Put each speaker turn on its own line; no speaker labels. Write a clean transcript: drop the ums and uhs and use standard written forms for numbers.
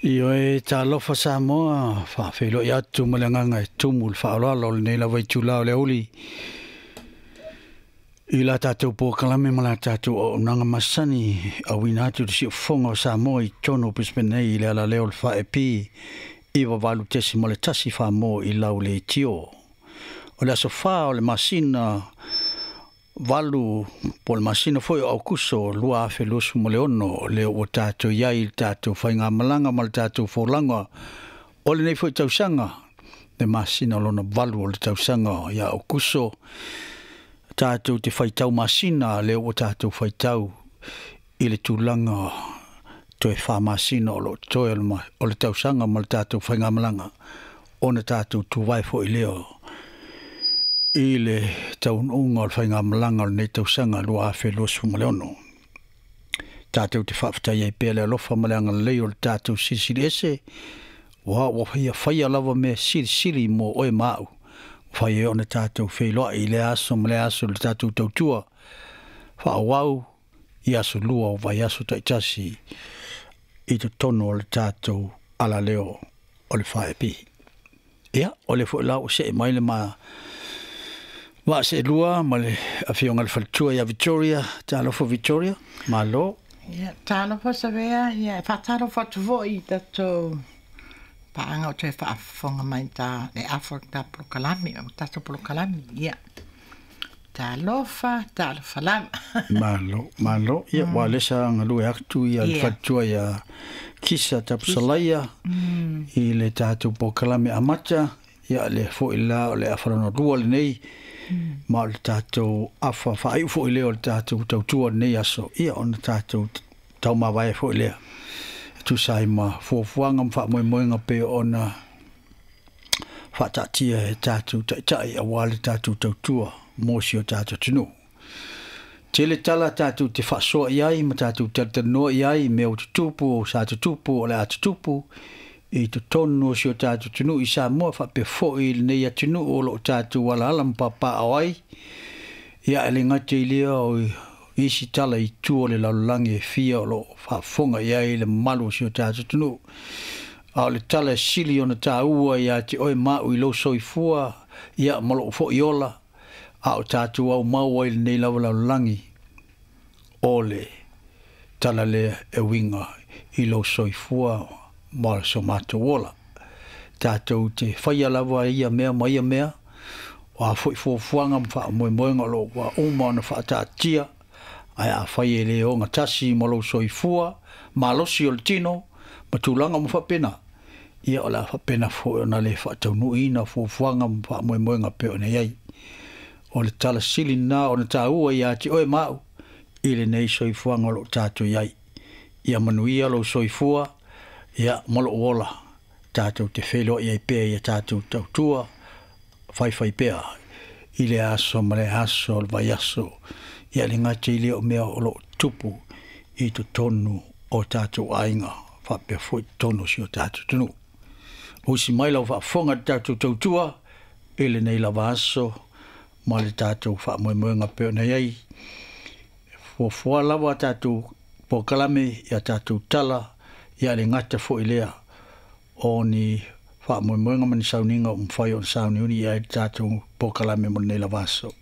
Ioe, talofa Samoa, faafeiloai atu ma le agaga e tumu i le faaaloalo o lenei lava itula o le aoauli i la tatou polokalame ma la tatou auaunaga masani auina atu i le siufofoga o Samoa i totonu o Brisbane nei i le alaleo o le 4AP 98.1 Samoa i lau leitio. O le aso 4 o le masina 8 po o le masina foi o Aokuso 2026 lea ua tatou i ai i le tatou faigamalaga ma le tatou folauga o lenei foi tausaga, le masina lona 8 o le tausaga ia Aokuso. Tatou te faitau masina, lea ua tatou faitau i le tulaga toe 4 masina o lo o toe o le tausaga ma le tatou faigamalaga, ona tatou tuvae foi lea i le taunuuga o le faigamalaga o lenei tausaga 2026. Tatou te faafetai ai pea le alofa ma le agalelei o le tatou Silisili Ese, ua faia lava mea silisili mo oe ma au, fai ai ona tatou feiloai i lea aso ma lea aso i le tatou tautua faaauau i aso lua o vaiaso taitasi i totonu o le tatou alaleo o le 4AP. Ia, o le foi la ua see mai le ma vaa seelua ma le afioga i le faletua ia Victoria. Talofa Victoria, malo.
Ia, talofa Savea, ia e faatalofa atu foi i tatou paaga o toe faafofoga mai ta le afa o ta polokalame, o tatou polokalame. Ia, talofa, talofa lava.
Malo, malo. Ia, ua lesa galue atu ia le faletua ia Kisa Tapusalaia i le tatou polokalame amata. Ia, le foi la o le afa lona lua lenei, ma o le tatou afa faaiu foi lea o le tatou tautua lenei aso. Ia, ona tatou taumavae foi lea e tusa ai ma fuafuaga ma faamoemoega pe ona faataatia e tatou taitai aua le tatou tautua mo si o tatou atunuu. Tele tala tatou te faasoa i ai ma tatou talatalanoa i ai i mea ua tutupu, sa tutupu, o le a tutupu i totonu o si o tatou atunuu i Samoa, faapea foi i lenei atunuu o lo o tatou alaala ma papaaao ai. Ia, e le gata i lea o isi tala i tua o le lalolagi e fia o lo o faafofoga i ai le mamalu o si o tatou atunuu. A o le tala e sili ona taua ia te oe ma au i lou soifua, ia ma lou foi ola, a o tatou aumau ai i lenei lava lalolagi, o le tala lea e uiga i lou soifua ma so matou ola. Tatou te faia lava ia mea ma ia mea, o a foi fuafuaga ma faamoemoega o lo o ua uma ona faataatia, ae afai e le ogatasi ma lou soifua malosi o le tino ma tulaga uma faapena, ia o le a faapena foi ona le faataunuuina fuafuaga ma faamoemoega pei ona i ai. O le tala sili lena ona taua ia te oe ma au i lenei soifuaga o lo o tatou i ai. Ia manuia lou soifua, ia ma lou ola, tatou te feiloai ai pea ia tatou tautua faifai pea i le aso ma le aso o le vaiaso. Ia le gata i lea o mea o lo o tupu i totonu o tatou aiga, faapea foi totonu o si o tatou atunuu. Usi mai lau faafofoga i le tatou tautua i lenei lava aso ma le tatou faamoemoega pei ona i ai. Fuafua lava tatou polokalame ia tatou tala, ia le gata foi lea o ni faamoemoega ma ni sauniga o mafai ona sauniuni i ai le tatou polokalame mo lenei lava aso.